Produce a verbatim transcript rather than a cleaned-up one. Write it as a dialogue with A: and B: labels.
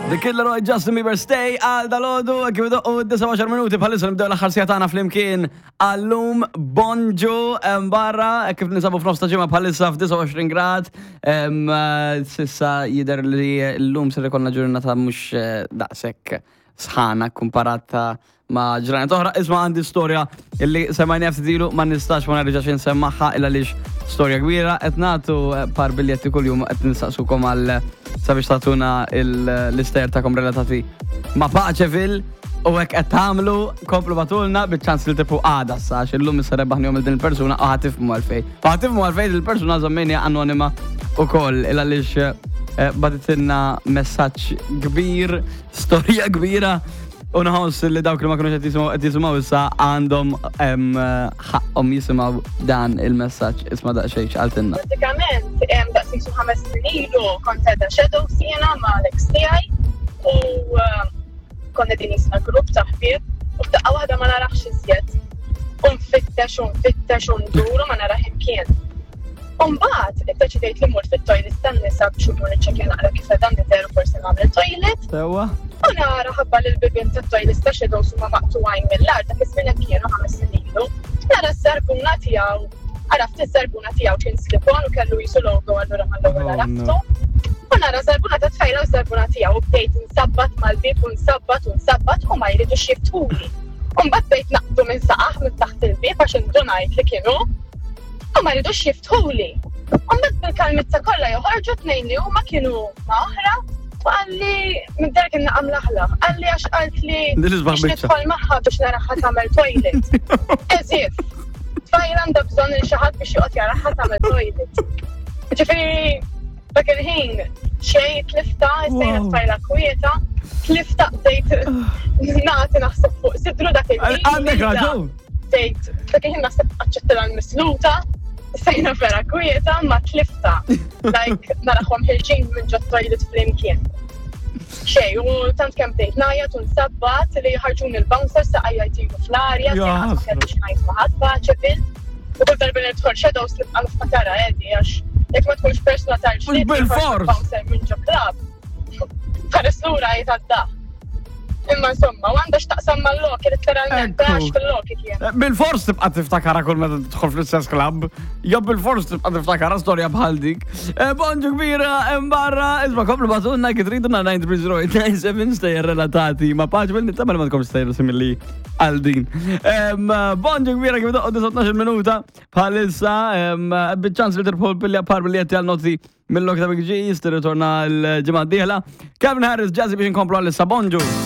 A: The Kid Laroi, Justin Bieber, "Stay" għal dalgħodu, kif u disgħa u għaxar minuti bħalissa nibdew l-aħħar siegħa tagħna flimkien għallum. Bonġu barra, kif ninsabu f'nofs ta' ġimgħa bħalissa f'disgħa u għoxrin grad. Em, eh, S'issa jidher li llum ser ikollna ġurnata mhux eh, daqshekk sħana komparata ma' ġranet oħra. Isma', għandi storja illi semmajna ftit ilu, ma nistax ma nerġax insemmaħħa illa lix storja kbira. Qed nagħtu eh, par biljetti kuljum, qed nistaqsukom għal sabiex tagħtuna l-istejjer tagħkom relatati ma' Paċeville u hekk qed tagħmlu, komplu ibagħtulna biċ-ċans li tipu għada sa għax illum issa rebbaħnihom din il-persuna u ħa tifhmu għalfejn. Ħa tifhmu għalfejn il-persuna żammejniha anonima ukoll illa għaliex eh, bagħtitilna messaġġ kbir, storja kbira. U nħoss li dawk li ma kienux qed jisimgħu qed jisimgħu issa għandhom em, ħaqhom jisimgħu dan il-messaġġ. Isma' daqsxejn x'qaltilna.
B: Pratikament, em, daqs xi ħames snin ilu kont qiegħda Shadows jiena ma' l-ex tiegħi u eh, konna din jisna grupp ta' ħbieb u f'daqqa waħda ma narax iżjed. U nfittex u nfittex u ndur u ma narax imkien. U mbagħad iddeċidejt li mmur fit-toilet tan-nisa biex imur niċċekkja naqra kif qiegħda nidher u forsi nagħmel toilet.
A: Sewwa?
B: U nara ħabba li l-bibien tat-toilet ta' Shadows huma maqtugħin mill-art, dak iż-żmien hekk kienu, ħames snin ilu. Nara s-sarbuna tiegħu, għaraft is-sarbuna tiegħu kien slip-on u kellu jisu logo, allura mal-ewwel
A: Oh,
B: għaraftu. U nara sarbuna ta' tfajla u sarbuna tiegħu u bdejt nsabbat mal-bib u nsabbat u nsabbat u ma jridux jiftħuli. U mbagħad bdejt naqbdu minn saqajh minn taħt il-bib għax indunajt li kienu u ma jridux jiftħuli. U mbagħad bil-kalmizza kollha joħorġu tnejn li huma kienu ma' oħra u qalli minn dar kien naqam laħlaħ. Qalli għax qalt li
A: Din isbaħ
B: biex
A: biċċa.
B: nidħol magħha biex naraha tagħmel toilet. As if. Tfajla għandha bżonn il xi ħadd biex joqgħod jaraha tagħmel toilet. Ġifieri dak il-ħin xejn tlifta, issejna
A: Wow.
B: tfajla kwieta, tlifta, bdejt nagħti naħseb fuq sidru dak il-ħin.
A: Għandek raġun.
B: Bdejt, dak il-ħin naħseb aċċettila l-misluta, sejna vera kwieta, ma tlifta. Like, narahom ħerġin minn ġo toilet flimkien. Xej, u tant kemm bdejt ngħajjat u nsabbat li ħarġuni l-bouncer saqajja jtiru fl-arja,
A: Ja,
B: ma
A: ħasra.
B: kellix ngħid ma' ħadd Paċeville. U kull darba li nidħol Shadows nibqa' niftakara Eddie, għax jekk ma tkunx persuna tal-ġlied,
A: Bil-fors.
B: bouncer minn ġo club. Ħares lura jitgħadda. Imma insomma, u għandha x'taqsam mal-loki, letteralment,
A: Ekku.
B: għax fil-loki kien.
A: Eh, Bil-fors tibqa tiftakara kull meta tidħol fl-istess club. Jew bil-fors tibqa tiftakara storja bħal dik. Eh, Bonġu kbira hemm barra, isma', komplu ibagħtulna kif tridu na nine three zero eight nine seven stejjer relatati ma' Paċeville, nittama li ma tkomx stejjer simili għal din. Em, Bonġu kbira, kif doqqu tnax minuta bħalissa, em, biċ-ċans li tirbħu pilja par biljetti għal noti mill-lok ta' Big G, tirritorna l-ġimgħa d-dieħla. Calvin Harris, Jazzy biex inkomplu għal-issa. Bonġu.